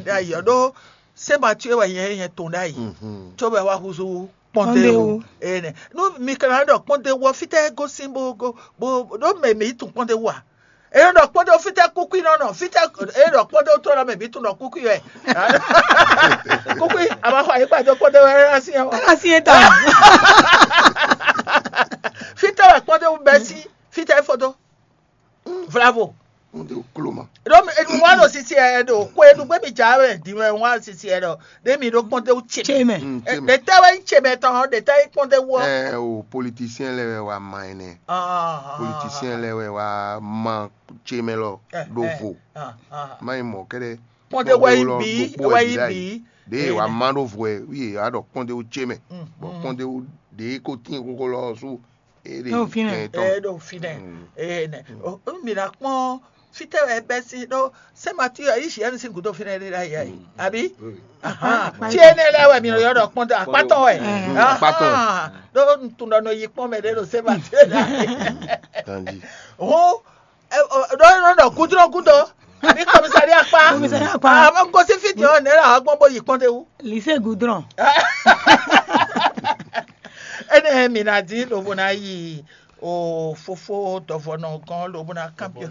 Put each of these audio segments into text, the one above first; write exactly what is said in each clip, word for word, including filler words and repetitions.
Ɖ'ayǐ ɔ́ ɖó sɛ́n Matíwe wɛ nyɛ nyɛ tɔn ɖ'ayǐ, cóbɔ é wá húzú kpɔ́ndéwu. Kpɔ́ndéwu. Énɛ́ nú mi ka ná ɖɔ kpɔ́ndéwu ɔ́, fítɛ́ é gosín bó gó bó ɖó mɛ mǐ yi tunwun kpɔ́ndéwu ǎ. É nɔ ɖɔ kpɔ́ndéwu fítɛ́ kúkú nɔ nɔ fítɛ́ é ɖɔ kpɔ́ndéwu tó nɔ mɛ mǐ tunwun ɖɔ kúkú wɛ. Kúkú a ma xɔ ayǐkpa dó kpɔ́ndéwu ɛ ná syɛ́n ɔ́. Ela si é ta. Fítɛ́ wɛ kpɔ́ndéwu bɛ́ sí fítɛ́ é fó dó. Vlavo. Wọ́n dé kúló ma. Ɖó mi- enu wá ɖo sisi ɛ ɖo ko enu gbé mi dza wɛ din wɛ wá sisi ɛ ɖɔ ɖé mi ɖó kpɔ́ndéwu ce. Tse mɛ. Mm, tse mɛ. Ɖe tɛ wɛ nyí ce mɛ tɔn ɖe tɛ nyí kpɔ́ndéwu ɔ́. Ɛ o politisiyɛn lɛ wɛ wa ma ɛnɛ. Ah, ah, ah, politisiyɛn lɛ wɛ wa ma ce mɛ lɔ Eh, ɖo eh, vo. Ah, ah. Ma yi mɔ kɛɖɛ. Kpɔ́ndéwu wɛ yí lɔ bi gbogbo wɛ ɛ yí bi. Ɖe wa ma ɖo vo ɛ wi a ɖɔ kpɔ́ndéwu ce mɛ. Mm, bɔn mm. Kpɔ́ndéwu ɖe ko tín kókó lɔ sú. Ɖo fínɛ́. Ɛ ɖo fínɛ́. Ɛ nɛ. Mi ná kpɔ́n fítɛ́ wɛ bɛ́ sín ɖó sɛ́n Matíu ɔ́ yi Siɛ́nu sín gǔdo fínɛ́ ɖé ɖ'ayǐ ɛ. Àbí? Tí énɛ́ lɛ́ɛ wɛ mi nɔ ylɔ́ ɖɔ kpɔ́n akpátɔ́ wɛ. Akpátɔ́. Ɖó un tunwun ɖɔ nɔ yi kpɔ́n mɛ ɖé ɖo sɛ́n Matíu ɖ'ayǐ. Hǔn ɖó é nɔ ɖɔ gúdúnɔ́ gúdo àbí kɔmísari akpá. Kɔmísari akpá. Àmọ́ gosín fí din ɔ́ nɛ̌ lɛ wǎ gbɔn bó yi kpɔ́n d'é wú. Lycée Goudron. Énɛ́ mi ná dín lobo ná yi o fofó dɔvɔnɔ gɔ́n lobo ná kanbyɔ́.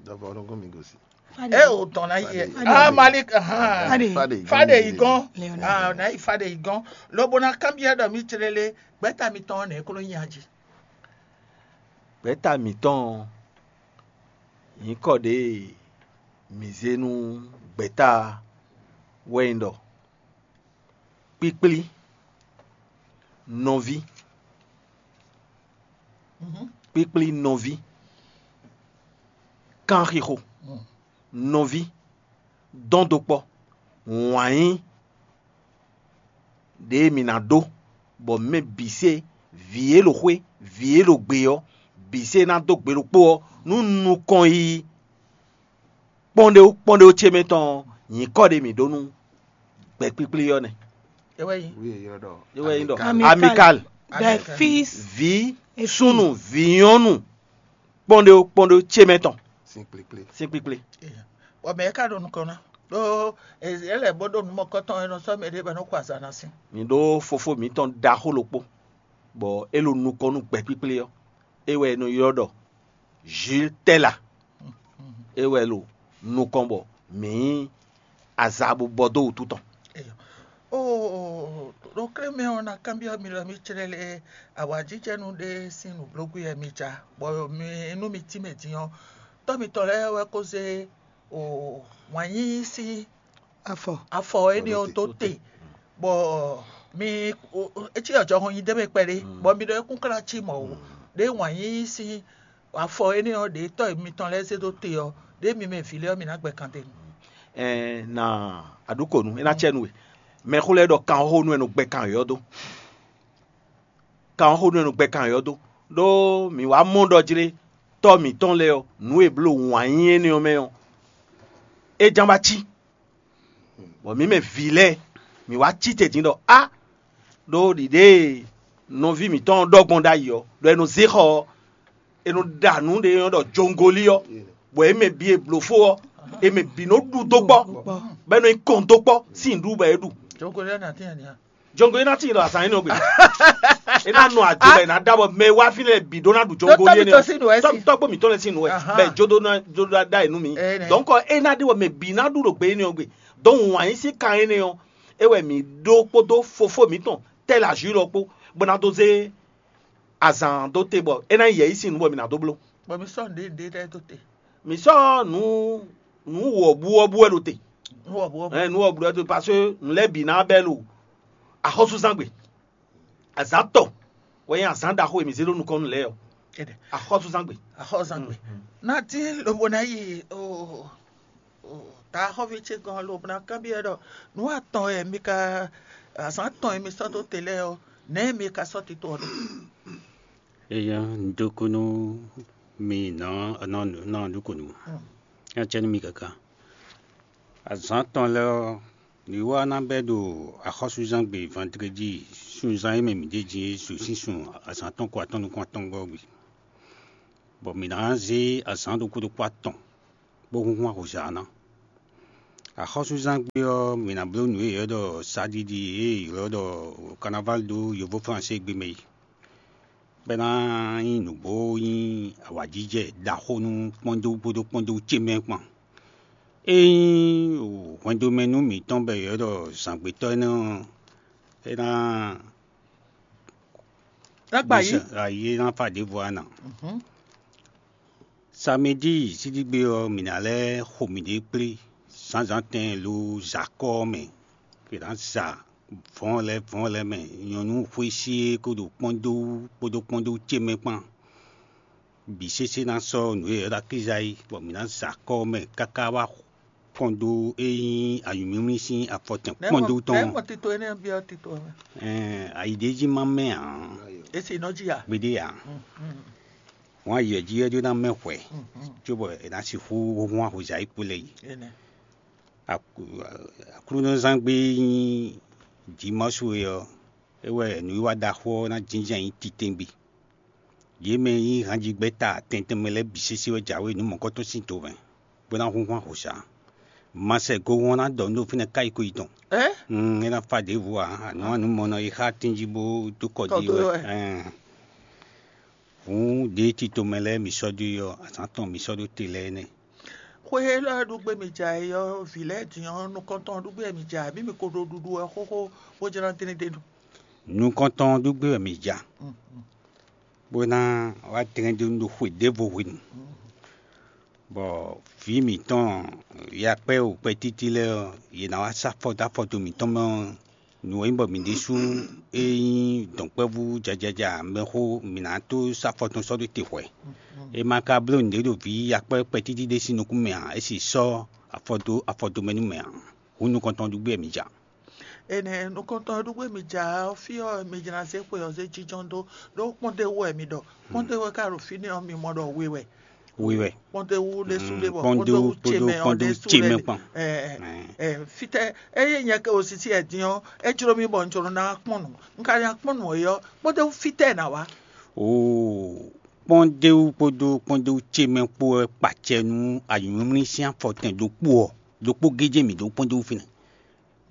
Dɔvɔ nɔ gɔn mi gosi. É o tɔn ná yi. Fade. Ah, Malik. Fade. Fade yi gɔn. Leonardo. Ah, ná yi fade yi gɔn. Lobo ná kanbyɔ́ ɖɔ mi tlélé gbɛ́ta mitɔn nɛ̌ kó nɔ nyi ají. Gbɛ̌ta mǐtɔn ɔ́, nyǐkɔ ɖě e mǐ zé nú gbɛ̌ta wɛ nyí ɖɔ kpíkplí nɔví, kpíkplí nɔví, kanxixo nɔví, dɔn dó kpɔ́, wǎn yí ɖě e mǐ ná ɖó, bɔ mɛ bǐ se vǐ e ɖo xwé, vǐ e ɖo gbe ɔ́, bǐ se ná dó gbe ɖokpó ɔ́, nú nukɔn yiyi kpɔ́nɖéwú kpɔ́nɖéwú ce mɛ tɔn ɔ́, nyǐkɔ ɖé mǐ ɖó nú gbɛ̌kpíkplí ɔ́ nɛ́. É wɛ nyí. Wi e ylɔ́ ɖɔ É wɛ nyí ɖɔ Amical. Amical. Bɛfis. Vǐ súnnu, vǐ nyɔ́nu kpɔ́nɖéwú kpɔ́nɖéwú ce mɛ tɔn. Sín kplékplé. Sín kpíkplé. Bɔ mɛ̌ ká ɖo nukɔn ná? Ɖó é lɛ́ bó ɖó nǔ mɔ̌kɔtɔn e nɔ sɔ́ mɛ ɖé bɔ é nɔ xo azǎn ná sín. Mǐ ɖó fofó mǐtɔn ɖaxó ɖokpó, bɔ é ɖo nukɔn nú gbɛ̌kpíkplé ɔ́, é wɛ è nɔ ylɔ́ ɖɔ Jil Tɛ́la. É wɛ ɖo nukɔn bɔ mǐ nyí aza bó bɔ dó wǔtu tɔn. Eyo. Oo, ɖo klé mɛ ɔ́, ná kanbyɔ́ mi ɖɔ mi clɛ́ lé awǎjijɛnú ɖé sín nǔblógbí wɛ mi ja, bɔ mi nú mi tínmɛ din ɔ́, tɔ́ mitɔn lɛ́ɛ wɛ ko zé o wǎn yíyí sín afɔ afɔ énɛ́ ɔ́ dó te, bɔ mi é cí ɔjɔhɔn nyi dó mɛ kpɛɖé, bɔ mi ɖɔ é kún klá cí mɔ̌ ó, ɖé wǎn yíyí sín afɔ énɛ́ ɔ́ ɖě tɔ́ mitɔn lɛ́ɛ zé dó te ɔ́, ɖě mi mɛ vǐ lɛ́ɛ ɔ́, mi ná gbɛ kan d'é nu. Ɛɛ na aɖukonu é ná cɛ nú we. Mɛxó lɛ́ɛ ɖɔ kanxóxó nú ɛ nɔ gbɛ kan yɔ̌ dó. Kanxóxó nú ɛ nɔ gbɛ kan yɔ̌ dó. Ɖó mǐ wá mɔ ɖɔ jlé tɔ́ mǐtɔn lɛ́ɛ ɔ́, nǔ e bló wǎn yí énɛ́ ɔ́ mɛ ɔ́, é ján ba cí. Bɔ mǐ mɛ vǐ lɛ́ɛ, mǐ wá cí te din ɖɔ á, ɖó ɖiɖée nɔví mǐtɔn ɖɔ gbɔn ɖ'ayǐ ɔ́, ɖɔ è nɔ zé xɔ ɔ́, è nɔ ɖa nǔ ɖé e nɔ ɖɔ jongolí ɔ́, bɔ é mɛ bǐ e blǒ fó ɔ́, è mɛ bǐ nɔ ɖu dó kpɔ́, bɔ é nɔ nyí kɔn dó kpɔ́ sín nǔɖuɖu bɔ é ɖu. Jongolí ɔ́ nǎ tín ani ǎ? Jongolí ná tín ɖɔ azǎn énɛ́ ɔ́ gbe. É ná nɔ ado bɔ è nǎ ɖa bɔ mɛ e wá fínɛ́ lɛ́ɛ bǐ ɖó ná ɖu jongolí énɛ́ ɔ́. Tɔ́gbó mǐtɔn lɛ́ɛ sín nǔ wɛ, bɔ jodó ná jodó ná ɖa è nú mǐ. Dɔ̌nkɔ é ná ɖe bɔ mɛ bǐ ná ɖu ɖo gbe énɛ́ ɔ́ gbe. Dɔ̌n wǎn yí sín kan énɛ́ ɔ́, é wɛ mǐ ɖó kpódó fofó mǐtɔn Tɛ́ Lajǔ lɔ kpó, bó ná dó zé azǎn dó te bɔ é ná nyí yɛ̌yi sín nǔ bɔ mǐ ná dó bló. Bɔ mi sɔ́ nǔɖé nǔɖé lɛ́ɛ dó te. Mǐ sɔ́ nǔ nǔ wɔ̌buwɔ́bú wɛ ɖo te. Nǔ wɔ̌buwɔ́bú. Ɛ nǔ wɔ̌buwɔ́bú wɛ ɖo te parce que nǔ lɛ́ɛ bǐ ná bɛ́ ɖo axɔ́súzángbe. Azǎn tɔn wɛ nyí azǎn ɖaxó e mǐ zé ɖó nukɔn nú lɛ́ɛ ɔ́. Axɔ́súzángbe. Axɔ́súzángbe. Ná dín lobo ná yi o ta xɔ́ví ce gɔ́n lobo ná kanbyɔ́ ɖɔ nǔ atɔn e mi ka azǎn tɔn e mi sɔ́ dó te lɛ́ɛ ɔ́, nɛ̌ mi ka sɔ́ tito ɔ́ ɖó? Eya, un dó kú nú mi nɔ nɔ nɔ ɖokunu. Nya cɛ nú mi káká. Azǎn tɔn lɛ́ɛ ɔ́, mi wá ná bɛ́ ɖo axɔ́súzángbe vandredi sunzán e mɛ mǐ ɖe din é su sín sun azǎn tɔn ko atɔn nukún atɔn gɔ́ gbe, bɔ mǐ ná zé azǎn ɖokpó ɖokpó atɔn bó húnhún ahɔ̌nzá ná. Axɔ́súzán gbe ɔ́, mǐ ná bló nǔ e è ylɔ́ ɖɔ sáɖiɖi e è ylɔ́ ɖɔ carnaval ɖó yovóflánségbé mɛ é. Bɔ é ná nyí nǔgbó nyí awǎjijɛ ɖaxó nú kpɔ́ndó kpódó kpɔ́ndó ce mɛ kpán. Ényí hwɛndo mɛ nú mǐtɔn bɔ è ylɔ́ ɖɔ zǎngbetɔ́ énɛ́ ɔ́, é ná Ná gba yí. Ayi é ná fa ɖěvo ana. Samedi sídígbe ɔ́, mǐ ná lɛ́ xo mǐɖée kplé zǎnzǎn tɛn lo zakɔ́ ɔ́ mɛ. È nǎ za vɔ̌n lɛ́ɛ vɔ̌n lɛ́ɛ mɛ, nyɔ̌nu xwésí e ko ɖo kpɔ́ndó wú kpódó kpɔ́ndó ce mɛ kpán. Bǐ sésé ná sɔ́ nǔ e è ylɔ́ ɖɔ akíza é, bɔ mǐ ná za kɔ́ ɔ́ mɛ káká wá kpɔ́ndó e nyí anyǔmlímlí sín afɔtɛn kpɔ́ndó tɔn. Nɛ̌ gbɔn tito énɛ́ ɔ́ byɔ́ tito ɔ́ mɛ? Ɛn, ayi ɖé jí má mɛ ǎ. É se nɔ jí a? Gbeɖé ǎ. Hɔn ayi ɔ́ jí wɛ ɖó ná mɛ hwɛ, cóbɔ è nǎ sixú húnhún ahozǎ e kpo lɛ́ɛ yi. Énɛ́. Aklúnɔzán gbe e nyí Jimɔ́su é ɔ́, é wɛ nǔwiwa ɖaxó ɔ́ ná jínjɔ́n ayǐ titewungbe. Yě mɛ e nyí hanjigbɛ́ta tɛntɛn mɛ lɛ́ɛ bǐ sésé wɛ jǎwe nǔ mɔ̌kɔ́tɔn sín do mɛ, bó ná húnhún ahɔ̌sá. Ma sɛ go ɔ́ ná ɖɔ nú ɖo fínɛ́ káyí ko yi tɔn. Ɛ? Mm, é ná fa ɖěvo ǎ, anǔ anǔ mɔ nɔ yi xá tínjí bó dó kɔ jí wɛ. Ɛn. Hǔn ɖěe tito mɛ lɛ́ɛ mi sɔ́ dó yi ɔ́, azǎn tɔn mi sɔ́ ɖó te lɛ́ɛ nɛ́. Xwe élɔ́ e ɖu gbé mi ja é ɔ́, vǐ lɛ́ɛ din ɔ́, nukɔntɔn ɖu gbé wɛ mi ja, abǐ mi ko ɖo ɖuɖu wɛ xóxó bó jlá dlɛ́n ɖ'é nu? Nukɔntɔn ɖu gbé wɛ mi ja, bó ná wá dlɛ́n ɖ'é nu ɖo xwe ɖěvo hwenu, bɔ vǐ mǐtɔn yakpɛ́ wǔkpɛ́ títí lɛ́ɛ ɔ́, yě ná wá sá afɔ dó afɔ dó mǐtɔn mɛ ɔ́, nǔ e nyí bɔ mǐ ɖésú e nyí dɔ̌nkpɛvú jajaja mɛxó mǐ ná tó sɔ́ afɔ tɔn sɔ́ ɖó te hwɛ̌. È ma ka bló nǔɖé ɖo vǐ yakpɛ́ kpɛtíti ɖé sín nukún mɛ ǎ, é sì sɔ́ afɔ dó afɔ dó mɛ nú mɛ ǎ. Hǔn nukɔntɔn ɖu gbé wɛ mǐ ja. Énɛ́ nukɔntɔn e ɖu gbé mi ja ɔ́, fí ɔ́, mi jlá zé xwe ɔ́ zé jínjɔ́n dó, ɖó kpɔ́ndéwú wɛ mi ɖɔ. Kpɔ́ndéwú e ka ɖo fínɛ́ ɔ́, mi mɔ ɖɔ we wɛ. We wɛ. Kpɔ́ndéwú ɖésú ɖé bɔ kpɔ́ndéwú ce mɛ ɔ́ ɖésú ɖé. Kpɔ́ndéwú kpódó kpɔ́ndéwú ce mɛ kpán. Ɛ, ɛ, fítɛ́ ényí nyɛ ke osisi ɛ din ɔ́, é jló mì bɔ un jló ná kpɔ́n nǔ. Un ka ná kpɔ́n nǔ é ɔ́, kpɔ́ndéwú fítɛ́ ná wá. Oo, kpɔ́ndéwú kpódó kpɔ́ndéwú ce mɛ kpó wɛ kpacɛ nú anyǔmlímlí sín afɔtɛn ɖokpó ɔ́, ɖokpó géjé mǐ ɖó kpɔ́ndéwú fínɛ́.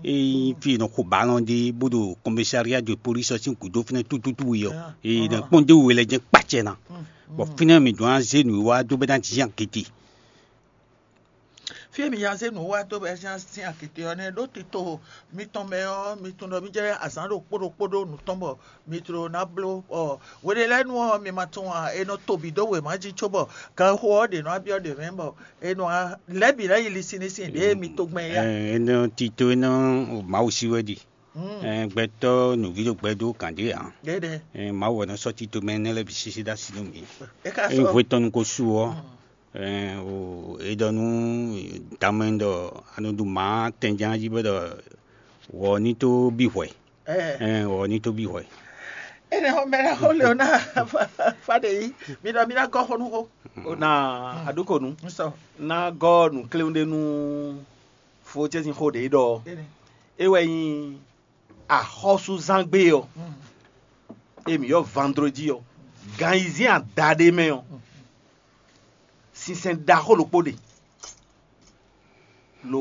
Ényí fí e è nɔ xo balɔn ɖe bó ɖo kɔmɛsáriya de polísi ɔ́ sín gǔdo fínɛ́ tútútú wɛ ɔ́, è nɔ kpɔ́ndéwú we lɛ́ jɛ́n kpacɛ ná. Bɔ fínɛ́ mǐ ɖó ná zé nǔwiwa dó bɛ́ ná jínjɔ́n agěte. Fí e mi nya zé nǔ wá dó bɔ é nya sín agěte ɔ́ nɛ́, ɖó tito mitɔn mɛ ɔ́, mi tunwun ɖɔ mì jɛ azǎn ɖokpó ɖokpó ɖó nǔ tɔn bɔ mi jló ná bló. Ɔ, hweɖé lɛ́ɛ nu ɔ́, mi ma tunwun ǎ, è nɔ to bǐ dó wěma jí cóbɔ ganxixo ɔ́ ɖě nɔ wá byɔ́ ɖě mɛ bɔ è nɔ wá lɛ̌ bǐ lɛ́ yi lisinlisin ɖě e mi to gbɛn é yá. Ɛ, é nɔ tito é nɔ Mawu sí wɛ ɖi. Ɛ, gbɛtɔ́ nǔví ɖo gbɛ dó gǎn ɖé ǎ. Ɖéɖé. Ɛ, Mawu wɛ nɔ sɔ́ tito mɛ énɛ́ lɛ́ɛ bǐ sísí dó así nú mǐ. É ka Ényí sɔ́ hwe tɔn nu ko su ɔ́, ɛ, o, é ɖɔ nú damɛ ɖɔ a nɔ ɖu mǎ tɛnján jí bɔ ɖɔ wɔ ní tó bí hwɛ. Ɛ, wɔ ní tó bí hwɛ. Énɛ́ xɔ mɛ ɖaxó Leona Faɖeyi, mi ɖɔ mi ná gɔ́ xó nú xó. O na aɖúkonu. Nsɔ. Ná gɔ́ nǔkléwún ɖé nú fó ce sín xó ɖě ɖɔ. Énɛ́. É wɛ nyí axɔ́súzán gbe ɔ́, e mǐ ylɔ́ vandrodi ɔ́, gan ayizɛ́n adaɖé mɛ ɔ́, sinsɛn ɖaxó ɖokpó ɖe, ɖo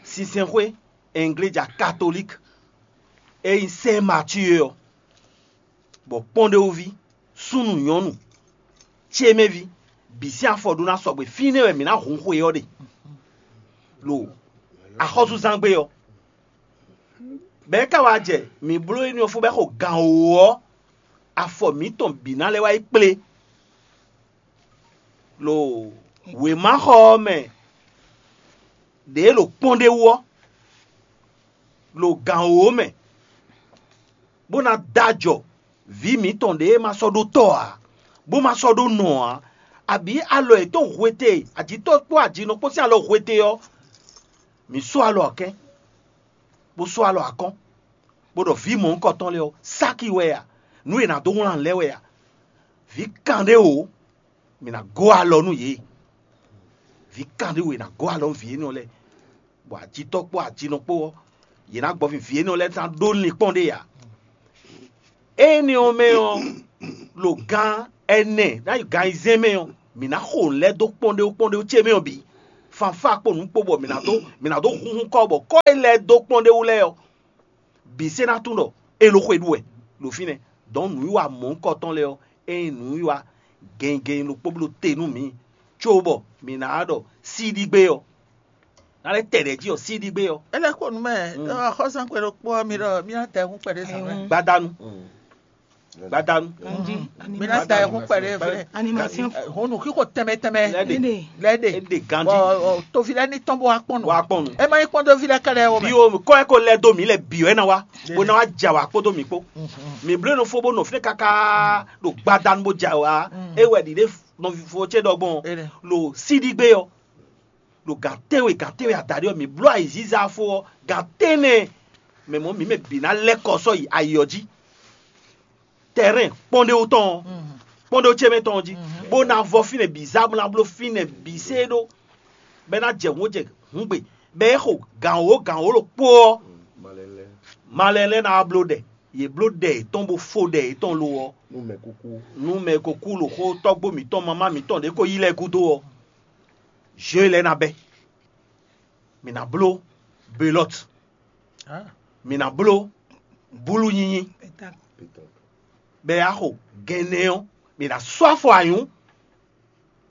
sinsɛnxwé Ɛngléja Katolík e nyí Sɛ́n Matíe ɔ́, bɔ kpɔ́ndéwúví, súnnu nyɔ̌nu, cémɛví, bǐ sín afɔ ɖó ná sɔgbe. Fínɛ́ wɛ mǐ ná hun xwe ɔ́ ɖe, ɖo axɔ́súzán gbe ɔ́. Bɛ̌ ka wá jɛ mǐ bló énɛ́ ɔ́ fó bɔ é xo gan wǒ ɔ́, afɔ mǐtɔn bǐ ná lɛ́ wá yi kplé. Lo wěmaxɔ ɔ́ mɛ ɖě ɖo kpɔ́n ɖé wú ɔ́, ɖo gǎn wǒ mɛ, bó ná dó ajɔ vǐ mǐtɔn ɖě e ma sɔ́ ɖó tɔ́ ǎ, bó ma sɔ́ ɖó nɔ ǎ, abǐ alɔ yětɔn hwete, ajǐtɔ́ kpó ajinɔ kpó sín alɔ hwete ɔ́, mǐ sɔ́ alɔ akɛ́n, bó sɔ́ alɔ akɔ́n, bó ɖɔ vǐ mɔ̌hunkɔtɔn lɛ́ɛ ɔ́, sáki wɛ a? Nǔ e è nǎ dó wlán lɛ́ɛ wɛ a? Vǐ kanɖé wǒ, mǐ ná gɔ́ alɔ nú yě. Vǐ kanɖé wǒ, è nǎ gɔ́ alɔ nú vǐ énɛ́ lɛ́ɛ, bɔ ajitɔ́ kpó ajinɔ kpó ɔ́, yě ná gbɔ vǐ énɛ́ lɛ́ɛ ná ɖó linkpɔ́n ɖé ǎ. Énɛ́ ɔ́ mɛ ɔ́, ɖo gan ɛnɛ ná yi gan ayizɛ́n mɛ ɔ́, mǐ ná xo nǔ lɛ́ɛ dó kpɔ́n ɖé kpɔ́n ɖé ce mɛ ɔ́ bǐ. fanfá kpó nǔ kpó bɔ mǐ ná dó mǐ ná dó hunhun kɔ bɔ kɔ e lɛ́ɛ dó kpɔ́n ɖé wú lɛ́ɛ ɔ́, bǐ se ná tunwun ɖɔ é ɖo xwe ɖu wɛ ɖo fínɛ́. Dɔ̌n nǔwiwa mɔ̌hunkɔtɔn lɛ́ɛ ɔ́, é nyí nǔwiwa gɛngɛn ɖokpó bló te nú mǐ, cóbɔ mǐ ná wá ɖɔ síɖígbé ɔ́, ná lɛ́ tɛ ɖɛ̌ jí ɔ́, síɖígbé ɔ́. É lɛ́ xo nǔ mɛ, axɔ́sánxwe ɖokpó ɔ́, mi ɖɔ mí ná da ayihún kpɛɖé zǎn mɛ. Gbadanu. Gbadanu. Ganji. Mi ná da ayihún kpɛɖé fɛ. Animation. Hɔn nǔxixo tɛnmɛ tɛnmɛ. Lɛ́ ɖe. Lɛ́ ɖe. É ɖe ganji. Bɔ toví lɛ́ɛ ní tɔn bó wá kpɔn nǔ. Wá kpɔn nǔ. É má nyí kpɔ́n toví lɛ́ɛ kɛlɛ o. Bí o kɔ ɛ ko lɛ dó mǐ lɛ bǐ wɛ ná wá. Bó ná wá ja wá kpódó mǐ kpó. Mǐ bló nɔ fó bó nɔ fínɛ́ káká ɖo gbadanu bó ja wá. É wɛ ɖiɖe nɔví fó ce ɖɔ gbɔn. Lo síɖígbé ɔ́. Ɖo gǎn tɛ́nwe gǎn tɛ́nwe adaɖé ɔ́, mǐ bló ayǐziza fó ɔ́, gǎn tɛ́nnɛ mɛ mɔ̌ mǐ mɛ bǐ ná lɛ́ kɔ sɔ́ yi ayi ɔ́ jí. Tɛrɛ́n kpɔ́ndéwú tɔn ɔ́, kpɔ́ndéwú ce mɛ tɔn ɔ́ jí, bó ná vɔ fínɛ́ bǐ zá bó ná bló fínɛ́ bǐ sé ɖó, bɔ é ná jɛ hǔn jɛ hǔngbe, bɔ é xo gǎn wǒ gǎn wǒ ɖokpó ɔ́, malɛ lɛ́ɛ ná wá bló ɖɛ. Yě bló ɖɛ yětɔn bó fó ɖɛ yětɔn lo ɔ́, nú mɛ kúkú. Nú mɛ kúkú ɖo xó tɔ́gbó mǐtɔn mamá mǐtɔn ɖě ko yí lɛ́ɛ gúdo ɔ́, zhé lɛ́ɛ ná bɛ́. Mǐ ná bló belɔ́t. Mǐ ná bló búlu nyinyi. Bɛ axo gɛnɛ ɔ́, mǐ ná sɔ́ afɔ anyǔ.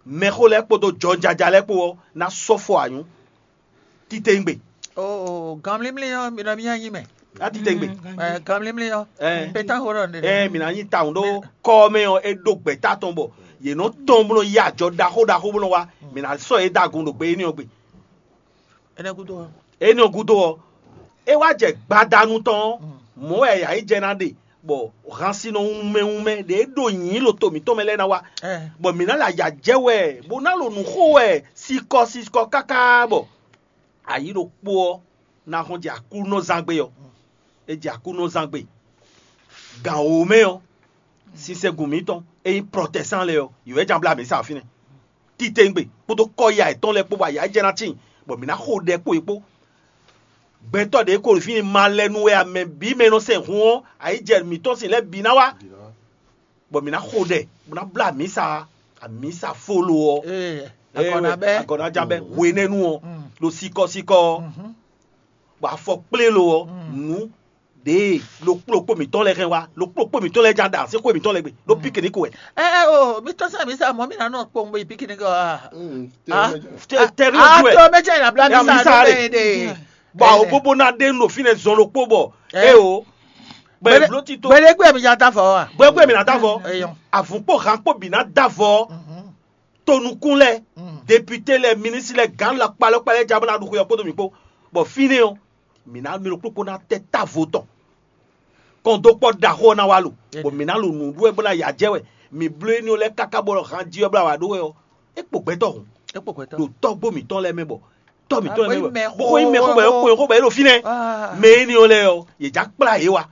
Mɛxó lɛ́ɛ kpódó jɔnjaja lɛ́ɛ kpó ɔ́ ná sɔ́ fɔ anyǔ. Titewungbe. Oo, ganmlímlí ɔ́, mi nɔ mì nyi mɛ. Á titewungbe. Ɛ, ganmlímlí ɔ́, Ɛ. Pétán xó ɖɔ nɖe. Ɛ, mǐ ná nyi tawun ɖó kɔ ɔ́ mɛ ɔ́, é ɖó gbɛ̌ta tɔn bɔ yě nɔ tɔn bó nɔ yí ajɔ ɖaxó ɖaxó bó nɔ wá. Mǐ ná sɔ́ yě da gun ɖo gbe énɛ́ ɔ́ gbe. Énɛ́ gúdo ɔ́, Énɛ́ ɔ́ gúdo ɔ́, é wá jɛ gbadanu tɔn ɔ́, mɔ̌ wɛ yǎ yi jɛ ná ɖe, bɔ hansinɔ wunmɛ wunmɛ ɖě ɖo nyǐ ɖo to mǐtɔn mɛ lɛ́ɛ ná wá, ɛ, bɔ mǐ ná lɛ ayǎ jɛ wɛ, bó ná ɖo nǔ xo wɛ sikɔ sikɔ káká bɔ ayǐ ɖokpó ɔ́ ná hɔn jɛ Aklúnɔzángbe ɔ́. É jɛ Aklúnɔzángbe. Gǎn wǒ mɛ ɔ́, sinsɛngun mǐtɔn e nyí prɔtɛsán lɛ́ɛ ɔ́, yě wɛ ján blá mǐ sa fínɛ́. Titewungbe kpódó kɔ́ya yětɔn lɛ́ɛ kpó bɔ ayǎ jɛ ná tíin, bɔ mǐ ná xo ɖɛ kpó yě kpó. Gbɛtɔ́ ɖě ko ɖo fínɛ́ malɛnu wɛ a, mɛ bǐ mɛ e nɔ sɛn hun ɔ́, ayǐ jɛ mǐtɔn sin lɛ́ɛ bǐ ná wá, bɔ mǐ ná xo ɖɛ, bó ná blá amǐsa, amǐsa fólo ɔ́. Ee, agɔ̌ ná bɛ́. Agɔ̌ ná já bɛ́ hwenɛ́nu ɔ́, ɖo sikɔsikɔ ɔ́, bɔ afɔ kplé lo ɔ́, nǔ ɖěe ɖokpó ɖokpó mǐtɔn lɛ́ɛ hɛn wá, ɖokpó ɖokpó mǐtɔn lɛ́ɛ já ɖa sɛ́n xwé mǐtɔn lɛ́ɛ gbe ɖó pikiniku wɛ. Ɛ ɛ o, mi tɔn sɛ mi sa mɔ mi na nɔ kpɔn bo yi pikiniku a. Tɛ- tɛri a ojú ɛ. To mɛ cɛ na bla mi Ya mi sa sa ɖo re. Bɛn de. Bɔ awo bóbó ná ɖe nɔ fínɛ́ zɔn ɖokpó bɔ Ɛ. E o. Bɛ Gbede- bló ti tó. Gbede gbé mi ya da fɔ wa. Gbɛgbɛ mi ná dá fɔ. Eyɔn. Avun kpó han kpó bǐ ná dá fɔ. Tonukun lɛ, député lɛ, ministre lɛ, gǎn la kpalɔkpalɛ ja bó ná ɖu xwe ɔ́ kpódó mǐ kpó. Bɔ fínɛ́ ɔ́, mǐ ná mì ɖokpó kpó ná tɛ távo tɔn. Kɔndókpɔ́ ɖaxó ɔ́ ná wá lo, bɔ mǐ ná lo nǔ ɖú wɛ bó ná ya jɛ wɛ. Mǐ bló éní ɔ́ lɛ́ɛ káká bɔ han jí ɔ́ bla wǎ ɖó wɛ ɔ́, é kpo gbɛtɔ́ hǔn. É kpo gbɛtɔ́. Ɖo tɔ́gbó mǐtɔn lɛ́ɛ mɛ bɔ tɔ́ mǐtɔn lɛ́ɛ mɛ bɔ bó xo nyí mɛ xó bɔ é xo bɔ é ɖo fínɛ́. Mɛ éní ɔ́ lɛ́ɛ ɔ́, yě já kplá yě wá.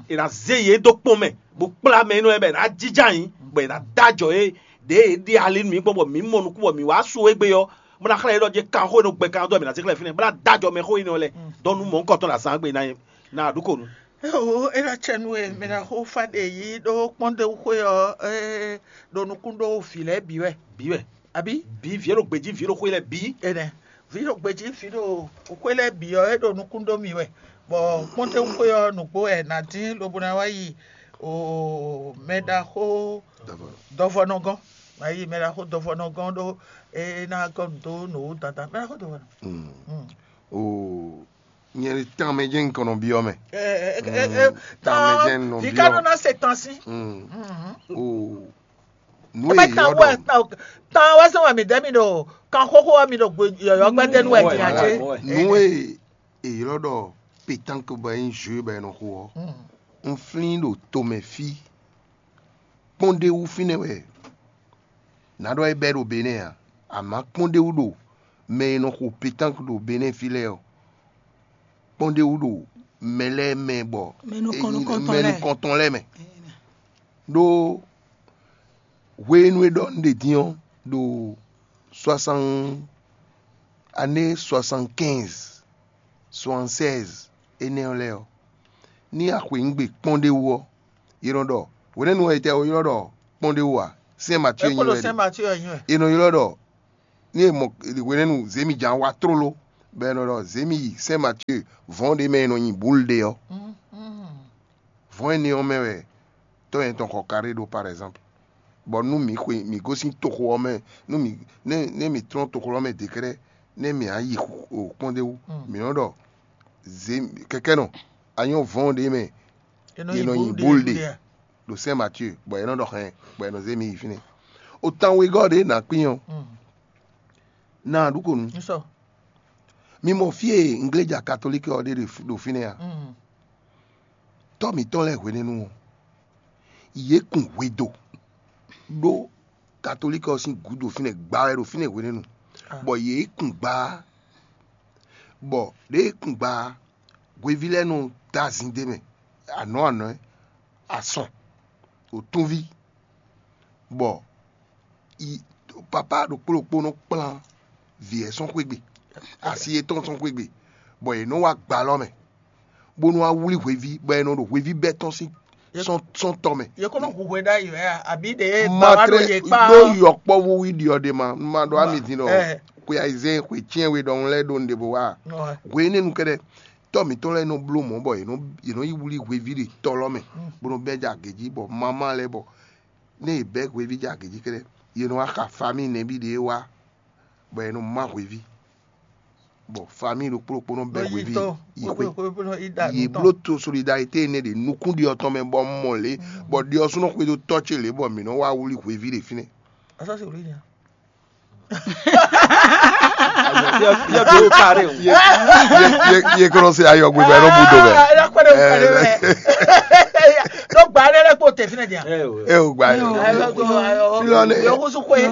È nǎ zé yě dó kpɔ́n mɛ, bó kplá mɛ énɛ́ lɛ́ɛ bɔ è nǎ jínjɔ́n ayǐ, bɔ è nǎ dó ajɔ yě ɖě è ɖe ali nú mǐ gbɔn bɔ mǐ mɔ nukún bɔ mǐ wá su égbé ɔ́, bó ná xlɛ́ yě ɖɔ jɛ kanxó e nɔ gbɛ kan dó wɛ mǐ ná zé xlɛ́ fínɛ́, bó ná dó ajɔ mɛ xó énɛ́ ɔ́ lɛ́ɛ dɔn nú mɔ̌hunkɔtɔn ɖo azǎn gbe ná ná ɖu kɔ nú. Éwo é ná cɛ nú e mɛ ná xó fá ɖe yí ɖó kpɔ́ndéwúxwé ɔ́, é ɖo nukún ɖó vǐ lɛ́ɛ bǐ wɛ. Bǐ wɛ. Abǐ? Bǐ vǐ e ɖo gbějí vǐ e ɖo xwé lɛ́ɛ bǐ. Enɛ. Vǐ ɖo gbějí vǐ ɖo xwé lɛ́ɛ bǐ ɔ́, é ɖo nukún ɖó mì wɛ. Bɔ kpɔ́ntɛ́nxwé ɔ́ nǔgbó wɛ è nǎ dín lobo ná wá yi o mɛɖaxó dɔvɔnɔ gɔ́n. Ná yi mɛɖaxó dɔvɔnɔ gɔ́n ɖó é ná gɔ́ nǔ dó nǔ wú dandan. Mɛɖaxó dɔvɔnɔ. Mm. Mm. O nyɛ ɖi tán mɛ jɛ́n un kɔn nɔ byɔ́ mɛ. Ɛ, ɛ, ɛ, ɛ, Mm, tán mɛ jɛ́n un nɔ vǐ byɔ́. Ká nɔ ná se tán sí. Mm. Mhm. O nú Ebe èyí tán ɔ́ wɛ ɖɔ tán wɛ sɛn wɛ mi dɛ mi ɖo kan xóxó wɛ mi ɖo yɔyɔ gbɛdɛ nu wɛ ti a ce. Nú e èyí ɔ́ ɖɔ pétanque bɔ é nyí jeu bɔ è nɔ xo ɔ́, un flín ɖo tomɛ fí. Kpɔ́ndéwú fínɛ́ wɛ nǎ ɖɔ é bɛ́ ɖo Benɛ́ ǎ, amǎ kpɔ́ndéwú ɖo mɛ e nɔ xo pétanque ɖo Benɛ́ fí lɛ́ɛ ɔ́, kpɔ́ndéwú ɖo mɛ lɛ́ɛ mɛ bɔ Mɛ nukɔn nukɔntɔn mɛ lɛ́ɛ. Nukɔntɔn lɛ́ɛ mɛ. Ɖó hwenu e ɖɔ un ɖe din ɔ́, ɖo soixante, année soixante-quinze, soixante-seize énɛ́ ɔ́ lɛ́ɛ ɔ́, ní a xweyǐgbe kpɔ́ndéwú ɔ́, è nɔ ɖɔ hwenɛ́nu ɔ́, etɛ́ è ylɔ́ ɖɔ kpɔ́ndéwú ǎ? Sɛ́n Matyɔ́ nyi wɛ. Sɛ́n Matyɔ́ nyi wɛ. È nɔ ylɔ́ ɖɔ ní è mɔ hwenɛ́nu zěmijǎn wá tlóló, bɔ è nɔ ɖɔ zěmi yi Sɛ́n Matyée vɔ̌n ɖé mɛ e nɔ nyi bǔlu ɖe ɔ́. Vɔ̌n énɛ́ ɔ́ mɛ wɛ tɔ́ nyɛ tɔn xɔ kaɖé ɖó, par exemple. Bɔ nú mǐ xwe mǐ gosín toxo ɔ́ mɛ, nú mǐ nɛ́ nɛ́ mǐ tlɔ́n toxo ɔ́ mɛ dékrɛ́, nɛ́ mǐ á yi kpɔ́n ɖé wú, mǐ nɔ́ ɖɔ zě kɛkɛ́nɔ a nyɔ́ vɔ̌n ɖé mɛ, è nɔ nyi bǔlu ɖe ɖo Sɛ́n Matyée, bɔ è nɔ ɖɔ hɛn, bɔ è nɔ zé mǐ yi fínɛ́. O tan wegɔ́ ɖě nǎ kpín ɔ́, ná a ɖu kò nu. Mi mɔ fí e ngléja katolíki ɔ́ ɖe ɖo fínɛ́ a? Tɔ́ mǐtɔn lɛ́ɛ hwenɛ́nu ɔ́, yě kun hwedo ɖó katolíki ɔ́ sín gǔdo fínɛ́, gba wɛ ɖo fínɛ́ hwenɛ́nu, bɔ yě kun gba, bɔ ɖěe kun gba, hweví lɛ́ɛ nɔ dó azin d'é mɛ, anɔ̌ anɔ̌, asɔn, wǒtúnví, bɔ papá ɖokpó ɖokpó nɔ kplán vǐ ɛ sɔ́n xwé gbe, asi yětɔn sɔ́n xwé gbe, bɔ yě nɔ wá gba alɔ mɛ, bónú wá wlí hweví, bɔ è nɔ ɖo hweví bɛ́ tɔn sín sɔ́n tɔn mɛ. Yě kó nɔ hu hwe ɖ'ayǐ wɛ a? Abǐ ɖě ma dɔn wá ɖo tlɛ yě kpá? Ɖó yɔkpɔ́vú wí ɖi ɔ́ ɖe ma, un ma ɖɔ ami din ɖɔ xwe ayizɛ́n xwe cyɛ́n we ɖɔhun lɛ́ɛ ɖo nǔɖé bó wá. Hwe énɛ́ nu kɛ́ɖɛ́, tɔ́ mǐtɔn lɛ́ɛ nɔ bló mɔ̌ bɔ yě nɔ yě nɔ yi wlí hweví ɖe tɔ́ lɔ mɛ, bó nɔ bɛ́ jɛ agě jí, bɔ mamá lɛ́ɛ bɔ nɛ́ yě bɛ́ hweví jɛ agě jí kɛ́ɖɛ́, yě nɔ wá xa famíi nɛbí ɖě wá, bɔ è nɔ má hweví, bɔ famíi ɖokpó ɖokpó nɔ bɛ́ hweví yi xwé. Yě bló to solidarité énɛ́ ɖě nukún ɖi ɔ́ tɔn mɛ, bɔ un mɔ lě, bɔ ɖi ɔ́ súnɔ xwedó tɔ́ ce lě, bɔ mǐ nɔ wá wlí hweví ɖě fínɛ́. Asɔ́ se wòlí nya. Yɛ bi o kare o. Ye kɔnɔ se ayɔ gbegbe nɔ bu do mɛ. Ɖó gba ɖé lɛ kpó tɛ fínɛ dia. E o gba yɛ. Filɔne,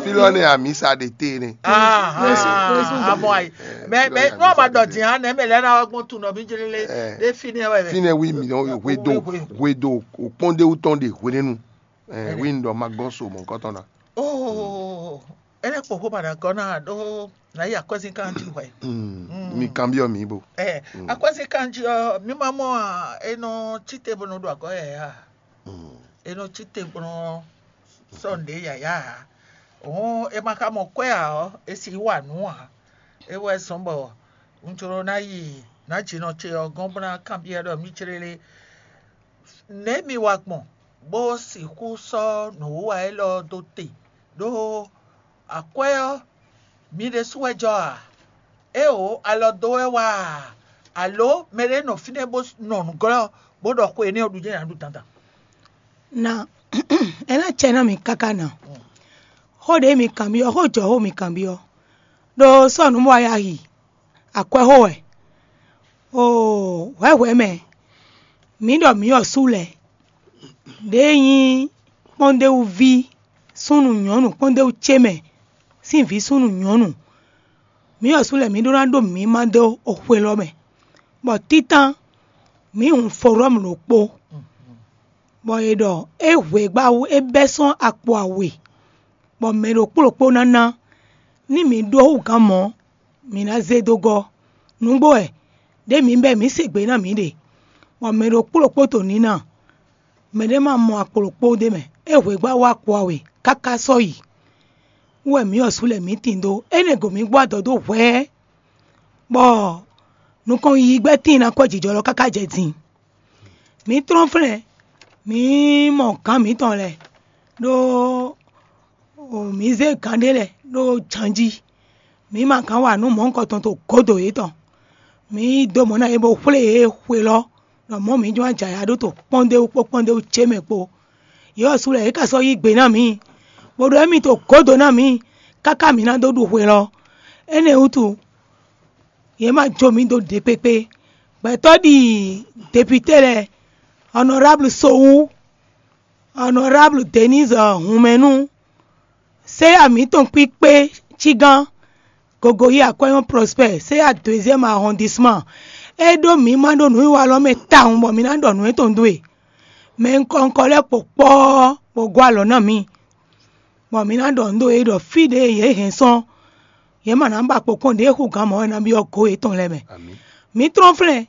filɔne amisa de te ne. Amɔ ayi. Mɛ mɛ n'o ma dɔ din hã nɛ mɛ lɛ na gbɔn tu nɔ mi jeli le. De fi ne wɛ. Fi ne wi mi nɔ hwe do, hwe do, o kpɔn de wutɔn de hwe ne nu. Wi n dɔ ma gɔn so mɔ nkɔtɔn na. Oh, ele kpɔxó ma ɖagɔ́ ná ɖó nǎ yi akwɛ́zínkan jí hwɛ. Mi kanbyɔ́ mǐ bo. Ɛ akwɛ́zínkan jí ɔ́, mi ma mɔ a, e nɔ cí te bó nɔ ɖo agɔ̌ yɛ a? E nɔ cí te bó nɔ sɔ́ nǔɖé yǎyá a? Hǔn e ma ka mɔ kwɛ́ ǎ ɔ́, e sixú wa nǔ ǎ. É wɛ zɔ́n bɔ un jló ná yi nǎjinɔ ce ɔ́ gɔ́n bó ná kanbyɔ́ ɖɔ mǐ céɖéɖé, nɛ̌ mi wa gbɔn bó sixú sɔ́ nǔwiwa élɔ́ dó te? Ɖó akwɛ́ ɔ́, mi ɖésú wɛ jɔ a? Éeǒ, alɔ dó wɛ wá a? Alǒ mɛɖé nɔ fínɛ́ bó nɔ nǔ glɔ́ bó ɖɔ xwe énɛ́ ɔ́ ɖu jɛ́n ǎ ɖu dandan? Na, é ná acɛ ná mi káká na. Xó ɖě mi kanbyɔ́, xó jɔ̌xó mi kanbyɔ́, ɖó sɔ́ nǔ bó wá yi axi, akwɛ́ xó wɛ. Oo, hwɛ̌hwɛ̌ mɛ, mǐ ɖɔ mǐ ɔ́ sú lɛ́ɛ, ɖěe nyí kpɔ́ndéwúví súnnu nyɔ̌nu kpɔ́ndéwú ce mɛ sín vǐ súnnu nyɔ̌nu, mǐ ɔ́ sú lɛ́ɛ mǐ ɖó ná ɖó mǐ ma dó xwe lɔ mɛ, bɔ títán mǐ hun forɔ́mu ɖokpó, bɔ è ɖɔ é hwe gbá wú é bɛ́ sɔ́n akpo awe, bɔ mɛ ɖokpó ɖokpó ná ná, ní mǐ ɖó hú gǎn mɔ̌, mǐ ná zé dó gɔ́. Nǔgbó wɛ, ɖěe mǐ bɛ́ mǐ se gbe ná mǐɖe, bɔ mɛ ɖokpó ɖokpó to nǐ ná. Mɛɖé ma mɔ akpo ɖokpó ɖ'é mɛ, é hwe gbá wá akpo awe káká sɔ́ yi. Wú wɛ mǐ ɔ́ sú lɛ́ɛ mǐ tin dó, énɛ́ go mǐ gbɔ adɔ dó hwɛ̌, bɔ nukɔn yiyi gbɛ́ tíin ná kɔ́ jǐjɔ́ lɔ káká jɛ din. Mǐ tlɔ́n flɛ́n, mǐ mɔ gǎn mǐtɔn lɛ́ɛ, ɖó mǐ zé gǎn ɖé lɛ́ɛ ɖó jan jí. Mǐ ma gǎn wa nǔ mɔ̌hunkɔtɔn to gǒdo yětɔn. Mǐ yí dó mɔ̌ ná yě bó xwlé yě xwelɔ́, ɖɔ mɔ̌ mǐ jló ná jɛ ayǎ ɖó to kpɔ́ndéwú kpó kpɔ́ndéwú ce mɛ kpó. Yě ɔ́ sú lɛ́ɛ yě ka sɔ́ yí gbe ná mǐ, bó ɖɔ émí to gǒdo ná mǐ, káká mǐ ná dó ɖu xwelɔ́. Énɛ́ wútu, yě ma jó mǐ dó ɖě kpékpé. Gbɛtɔ́ ɖi depite lɛ́ɛ, Honorable Sowú, Honorable Denise Hunmɛnu, séya mǐtɔn kpíkpé Cígán, Gogoyi Akwɛ́yɔ́n Prosper, séya deuxième arrondissement, é ɖó mǐ ma ɖó nǔwiwa lɔ mɛ tawun bɔ mǐ ná ɖɔ nǔ étɔn dó e. Mɛ ŋkɔ ŋkɔ lɛ́ɛ kpo kpɔ́ bɔ gɔ́ alɔ ná mǐ, bɔ mǐ ná ɖɔ nǔ dó e ɖɔ fí ɖě yě hɛn sɔ́n, yě ma ná ba kpo kɔn ɖěe xú gǎn mɔ̌ wɛ ná byɔ́ gǒ yětɔn lɛ́ɛ mɛ. Mǐ tlɔ́n flɛ́n,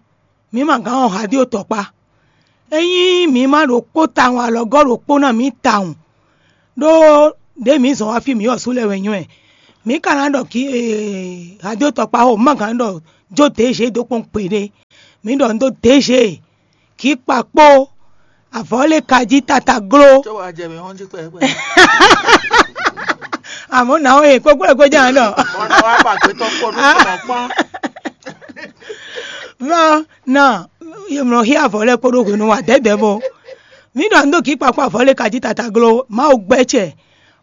mǐ ma gǎn ɔ́ hǎ dó tɔkpá. Ényí mǐ ma ɖo kpó tawun alɔgɔ́ ɖokpó ná mǐ tawun, ɖó ɖěe mǐ zɔn wá fí mǐ ɔ́ sú lɛ́ɛ wɛ nywɛ́. Mǐ ka ná ɖɔ kí ee, radio tɔkpáxo má gǎn ɖɔ jó dě zě dó kpɔ́n gbeɖé. Mǐ ɖɔ un dó dě zě, kǐ kpa kpó avɔ̌ lé ka jí tata gló. Tó wàá jɛ mɛ hɔn jí kpɛkpɛ. Àmọ́ nà ó yè kókó ẹ̀ kó jẹ́ àná. Bọ́n náà wá pàgbé tó kó ní kò mọ̀ pọ́n. Vá nà yemlɔ hí avɔ̌ lɛ́ɛ kpódó hwenu wa dɛ̌dɛ̌ bɔ. Mǐ ɖɔ un dó kǐ kpa kpó avɔ̌ lé ka jí tata gló. Mawu gbɛ́ cɛ.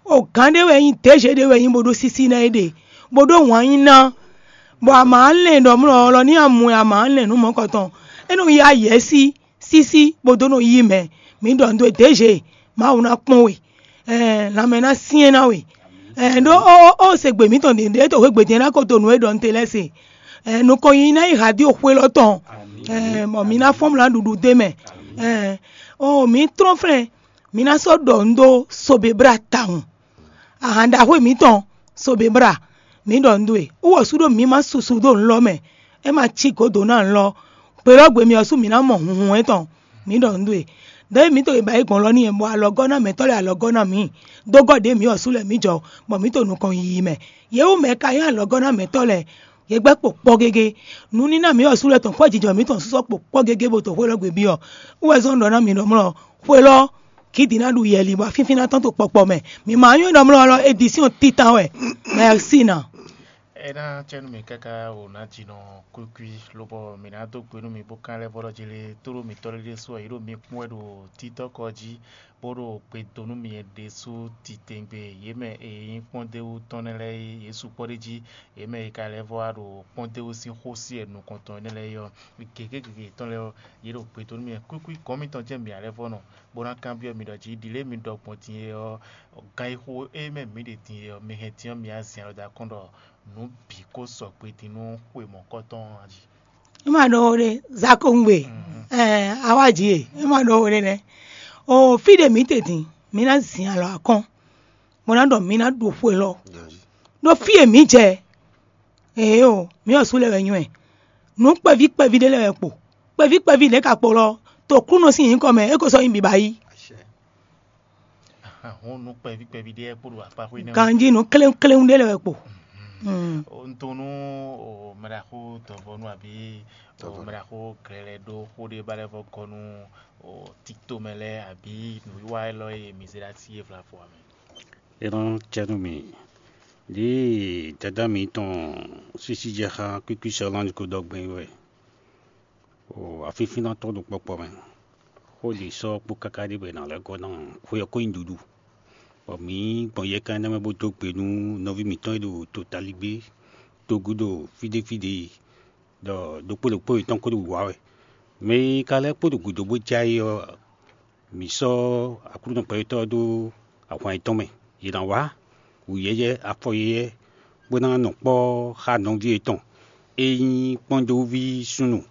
O gǎn ɖé wɛ nyí, dězě ɖé wɛ nyí bó ɖó sísí ná é ɖe, bó ɖó wǎn nyi ná, bɔ a ma lɛn ɖɔ mlɔ ɔ́ lɔ ní a mɔ ɛ a ma lɛn nǔ mɔ̌kɔtɔn. É nɔ yá yɛ̌ sí sísí bó dó nɔ yí mɛ. Mǐ ɖɔ nǔ dó dězě, Mawu ná kpɔ́n we, ɛɛ lanmɛ ná syɛ́n ná we. Ɛɛ ɖó ó ó se gbe mǐtɔn ɖě ɖě to hwegbe din ná ko to nǔ e ɖɔ un te lɛ́ɛ se. Ɛɛ nukɔn yi ná yi hadi o xwé lɔ tɔn. Ɛɛ bɔ mǐ ná fɔ́n mlá ɖuɖu dé mɛ. Ɛɛ o mǐ trɔ́n flɛ́n, mǐ ná sɔ́ ɖɔ nǔ dó Sobebra tawun. Ahan ɖaxó mǐtɔn Sobebra, mǐ ɖɔ nǔ dó e. Wú wɔ sú ɖó mǐ ma susu dó nǔ lɔ mɛ, é ma cí gǒdo ná nǔ lɔ. Gbe lɔ gbe mì ɔ́ sú mǐ ná mɔ hunhun étɔn, mǐ ɖɔ nǔ dó e. Ɖěe mǐ to yi ba yi gbɔn lɔ n'i bɔ alɔgɔ́ ná mɛtɔ́ lɛ́ɛ alɔgɔ́ ná mǐ, dó gɔ́ ɖě mǐ ɔ́ sú lɛ́ɛ mǐ jɔ, bɔ mǐ to nukɔn yiyi mɛ. Yě wú mɛ ka nyí alɔgɔ́ ná mɛtɔ́ lɛ́ɛ, yě gbɛ́ kpo kpɔ́ gégé. Nǔníná mǐ ɔ́ sú lɛ́ɛ tɔn kpɔ́ jijɔ mǐtɔn sú sɔ́ kpo kpɔ́ gégé bó to xwé lɔ gbe byɔ́. Wú wɛ zɔ́n ɖɔ ná mǐ ɖɔ mlɔ xwé lɔ kǐ din ná ɖu yɛli bɔ fínfín ná tɔ́n to kpɔkpɔ mɛ. Mǐ ma nyɔ́ ɖɔ mlɔ lɔ édisíɔn titan wɛ. Mɛsina. É ná cɛ nú mì káká wǒ ná jinɔ kwíkwí, lobɔ mǐ ná dó gbe nú mi bó kán lɛ́ vɔ́ ɖɔ jí lé, tóɖó mǐtɔn lɛ́ɛ ɖésú ɔ́, yě ɖo mi kpɔ́n wɛ ɖo títɔ́kɔ jí, bó ɖo gbe dó nú mi ɖésú titewungbe. Yě mɛ e nyí kpɔ́ndéwú tɔn nɛ́ lɛ́ɛ é, yě sukpɔ́ ɖ'é jí. Yě mɛ e ka lɛ́ vɔ́ wá ɖo kpɔ́ndéwú sín xó sí wɛ nukɔn tɔn énɛ́ lɛ́ɛ é ɔ́, gěgé gěgé yětɔn lɛ́ɛ ɔ́, yě ɖo gbe dó nú mi wɛ. Kwíkwí gɔ̌n mitɔn jɛ́n mǐ ná lɛ́ vɔ́ nɔ, bó ná kanbyɔ́ mi ɖɔ jí ɖi lě e mi ɖɔ gbɔn din é ɔ́, gan e xo é mɛ mǐ ɖe din é ɔ́, mi hɛn din ɔ́, mi yá zin alɔ dó akɔ́n ɖɔ nǔ bǐ kó sɔgbe din nú xwe mɔ̌kɔtɔn ɔ́ jí. É ma ɖɔ wo ɖe, Zakongbe, ɛɛ, awa jí e, é ma ɖɔ wo ɖe nɛ. O fí ɖe mǐ te din, mǐ ná zin alɔ akɔ́n, bó ná ɖɔ mǐ ná ɖu xwe lɔ. Ɖó fí e mǐ jɛ, ee o, mǐ ɔ́ sú lɛ́ wɛ nywɛ́. Nǔ kpɛví kpɛví ɖé lɛ́ wɛ kpo. Kpɛví kpɛví ɖě ka kpo lɔ, to Aklúnɔ sín nyǐkɔ mɛ, é ko sɔ́ nyí biba yí. Hɔn nú kpɛví kpɛví ɖé kpó ɖo akpa xwé nɛ́. Ganjí nǔ kléwún kléwún ɖé lɛ́ wɛ kpo. Un to nú mɛɖaxó dɔvɔnu abǐ mɛɖaxó glɛlɛ ɖó xó ɖé ba lɛ́ vɔ gɔ́ nú tito mɛ lɛ́ɛ abǐ nǔwiwa élɔ́ e mǐ zé ɖó así é vlavo ǎ mɛ. É nɔ cɛ nú mì. Ɖěe dadá mǐtɔn sísí jɛ xá kwíkwísɛ ɔ́ ná ko ɖɔ gbɛn wɛ. O afífínnɔ tɔn ɖo kpɔkpɔ mɛ. Xó ɖě sɔ́ kpó káká ɖé bɔ è nǎ lɛ́ gɔ́ ná xwe ɔ́ ko nyi ɖuɖu. Bɔ mǐ gbɔn yɛkan énɛ́ mɛ bó dó gbe nú nɔví mǐtɔn e ɖo totaligbé dó gúdo fí ɖé fí ɖě, ɖɔ ɖokpó ɖokpó yětɔn ko ɖo wǐwá wɛ. Mɛ e ka lɛ́ kpo ɖo gǔdo bó jɛ ayé ɔ́, mǐ sɔ́ Aklúnɔ gbɛtɔ́ ɔ́ dó ahwan yětɔn mɛ. Yě ná wá wǔyɛ́yɛ́, afɔyɛ́yɛ́, bó ná nɔ kpɔ́ xá nɔví yětɔn e nyí kpɔ́ndéwúví súnnu,